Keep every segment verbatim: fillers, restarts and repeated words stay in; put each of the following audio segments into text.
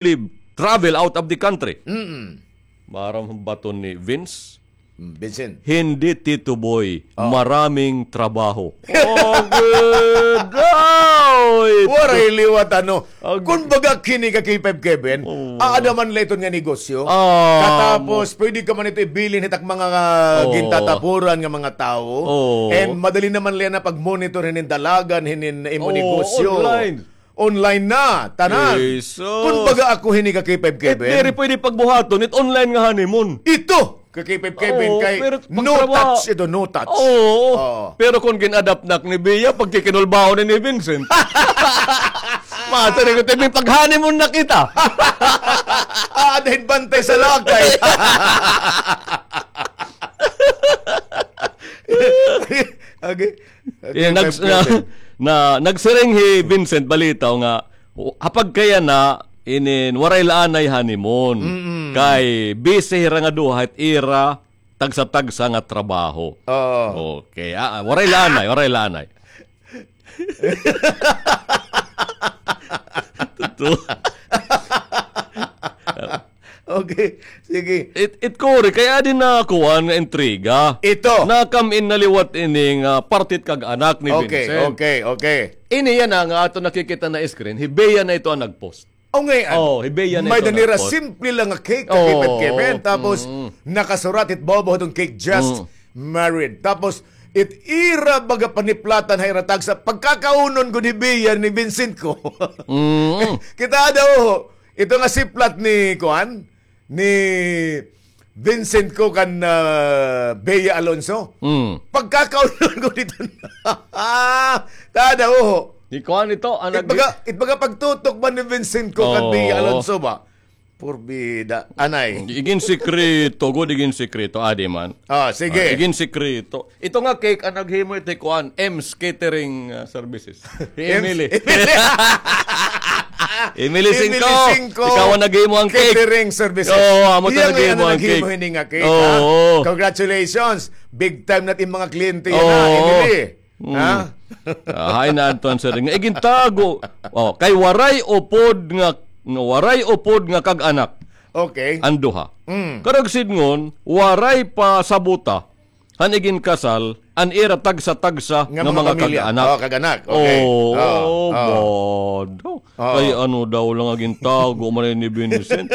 live, travel out of the country. Mm-mm. Maaram baton ni Vince? Mm, Vincent. Hindi, Tito Boy. Oh. Maraming trabaho. Oh, good. Oy! Waray liwat, ano. Ag- Kun baga kini ka K five Kevin, oh, aada man la iton nga negosyo. Ah, katapos, mo- pwede ka man ito ibilin hit ak mga, ah, oh, gintatapuran nga mga tawo. Oh. And madali naman la na pag-monitor hinin dalagan, hinin imo, oh, negosyo. Online. Online na, tanan. Jesus. Kun baga ako hini ka K five Kevin. It diri pwede pagbuhaton, it online nga honeymoon. Ito, ka K five Kevin, oo, kay pero no pagtrabaho, touch ito, no touch. Oo. Oo. Pero kun gin-adapt na ni Bea, pagkikinulbaon ni Vincent. Mata ni ko, "Temi, pag-honeymoon na kita." Ah, dahil bantay sa lakay. Okay. Yeah, nags-, na, na, nagsiring hi Vincent Balitaw nga, ha pagkayana, inin, waray la anay honeymoon. Mm-mm. Kay busy hira nga duha hit ira tagsa-tagsa nga trabaho. Oo. Okay. Ah, ah, waray la anay, waray la anay. Totoo. Okay, sige. It, it kuri, kay adi nakuan nga intriga. Ito. Nakam-in na liwat ini nga parte hit kag-anak ni Vincent. Okay, okay, okay. Ini yana nga aton nakikita na screen, hi Bea na ito an nag-post. O, ngay-an. Oh, hi Bea na ito nag-post. May-ada nira simple lang nga cake, oo, kakipit-kipit. Tapos, mm, nakasurat it bobo hiton cake, just, mm, married. Tapos, it ira baga paniplatan ha ira tagsa. Pagkakaunon gud hi Bea ni Vincent ko. Mm. Kita daw, ito nga siplat ni, kuan, ni Vincent ko kan, ah, Bea Alonso. Mm. Pagkakaunon ko dito na. Tada, oho. Di ko ano ito, ang it nag- baga, it baga pagtutok ba ni Vincent ko kan, oo, Bea Alonso ba? Porbida. Anay. Igin sikreto, gud, igin sikreto, adi man. Ah, sige. Ah, igin sikreto. Ito nga cake, ang naghimo ito, kuan, M's Catering, ah, Services. Hi Emily. Emily. Emily Singko. Emily Singko. Ikaw ang naghimo ang cake. Catering services. Oo, amo ta naghimo ang cake. Iya nga naghimo hini nga cake, ha? Oo. Congratulations. Big time na it im mga kliyente yana, Emily. Mm. Ha? Ah, hay na, Anton, sir. Nga igintago. Oh, kay waray upod nga, nga waray upod nga kag-anak. Okay. An duha. Mm. Karuyag sidngon, waray pa sabota han iginkasal an ira tagsa-tagsa nga mga pamilya. Nga mga kag-anak. Oh, kag-anak. Okay. Oo, oo, oo. Bado. Oo. Kay ano daw la nga gintago man ni Vincent.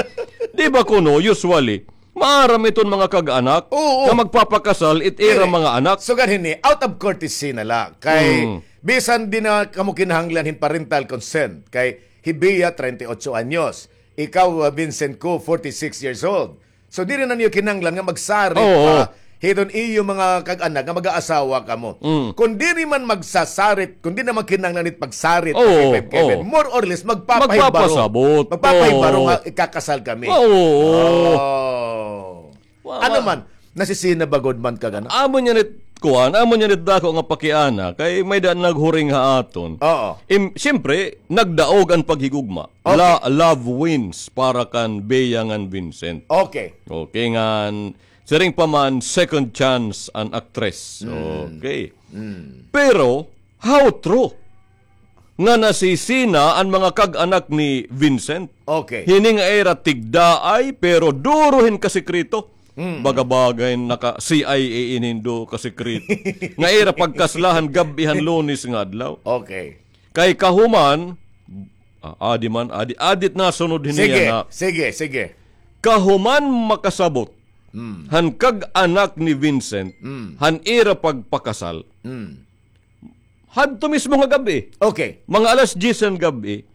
Di ba kuno, usually, maaram iton mga kag-anak, oo, nga magpapakasal it ira mga anak. Diri. Sugad hini, out of courtesy na la. Kay, mm, bisan di na kamo kinahanglan hin parental consent. Kay, hi Bea, treinta y ocho anyos. Ikaw, uh, Vincent ko, forty-six years old. So, diri na niyo kinahanglan nga magsarit, oo, pa hiton iyo mga kag-anak nga mag-aasawa kamo. Mm. Kon diri man magsasarit, kon diri na man kinahanglan it pagsarit, oo, Kevin, oo, more or less, magpapahibaro. Magpapasabot. Magpapahibaro, oo, nga ikakasal kami. Oo. Oh. Wa-, ano wa-, man, nasisina ba gud man kag-anak? Amo niyan it kuan, amo niyan it dako nga pakiana, kay may-ada naghuring ha aton. Oo. Im-, siyempre, nagdaog an paghigugma. Okay. La-, love wins para kan Bea ngan Vincent. Okay. Okay, ngan siring pa man, second chance an actress. Mm. Okay. Mm. Pero, how true nga nasisina an mga kag-anak ni Vincent? Okay. Hini nga ira tigdaay, pero duro hin kasikreto. Mm. Baga-baga hin naka-C I A ini hin duro kasikreto. Nga ira pagkasla han gab-i han Lunes nga adlaw. Okay. Kay kahuman, ah, adi man, adi, adi it nasunod hini yana. Sige, sige, sige. Kahuman makasabot, mm, han kag-anak ni Vincent, mm, han ira pagpakasal. Mm. Hadto mismo nga gab-i. Okay. Mga alas diyes han gab-i,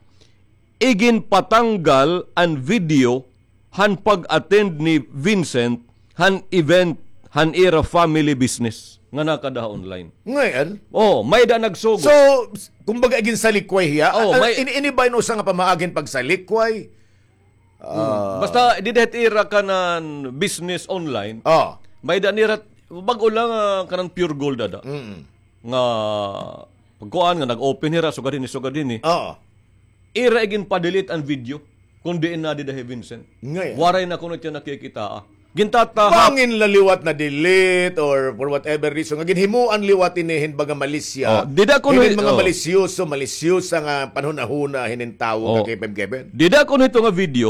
iginpatanggal an video han pag-attend ni Vincent han event han ira family business nga nakada ha online. Ngay-an? Oh, may-ada nagsugod. So, kumbaga, iginsalikway hiya? Oh, ah, may ini, ini ba in usa nga pamaagi hin pagsalikway? Hmm. Ah. Basta, dida hit ira kanan business online. Oh. May-ada nira, bag-o la nga kanan Pure Gold ada. Mm. Nga, pagkuan nga, nag-open hira, sugad hini, sugad hini. Oo. Ira iginpa-delete an video. Kon diin na dida hi Vincent. Ngay-an. Waray na kuno tiya nakikita, ah. Gintatahak. Bangin la liwat na-delete or for whatever reason nga ginhimuan liwat ini hin baga malisya. Oh, dida kuno hinin mga oh. Malisyoso, malisyosa nga panhunahuna hinin tawo oh. Nga K five Kevin. Dida kuno hito nga video,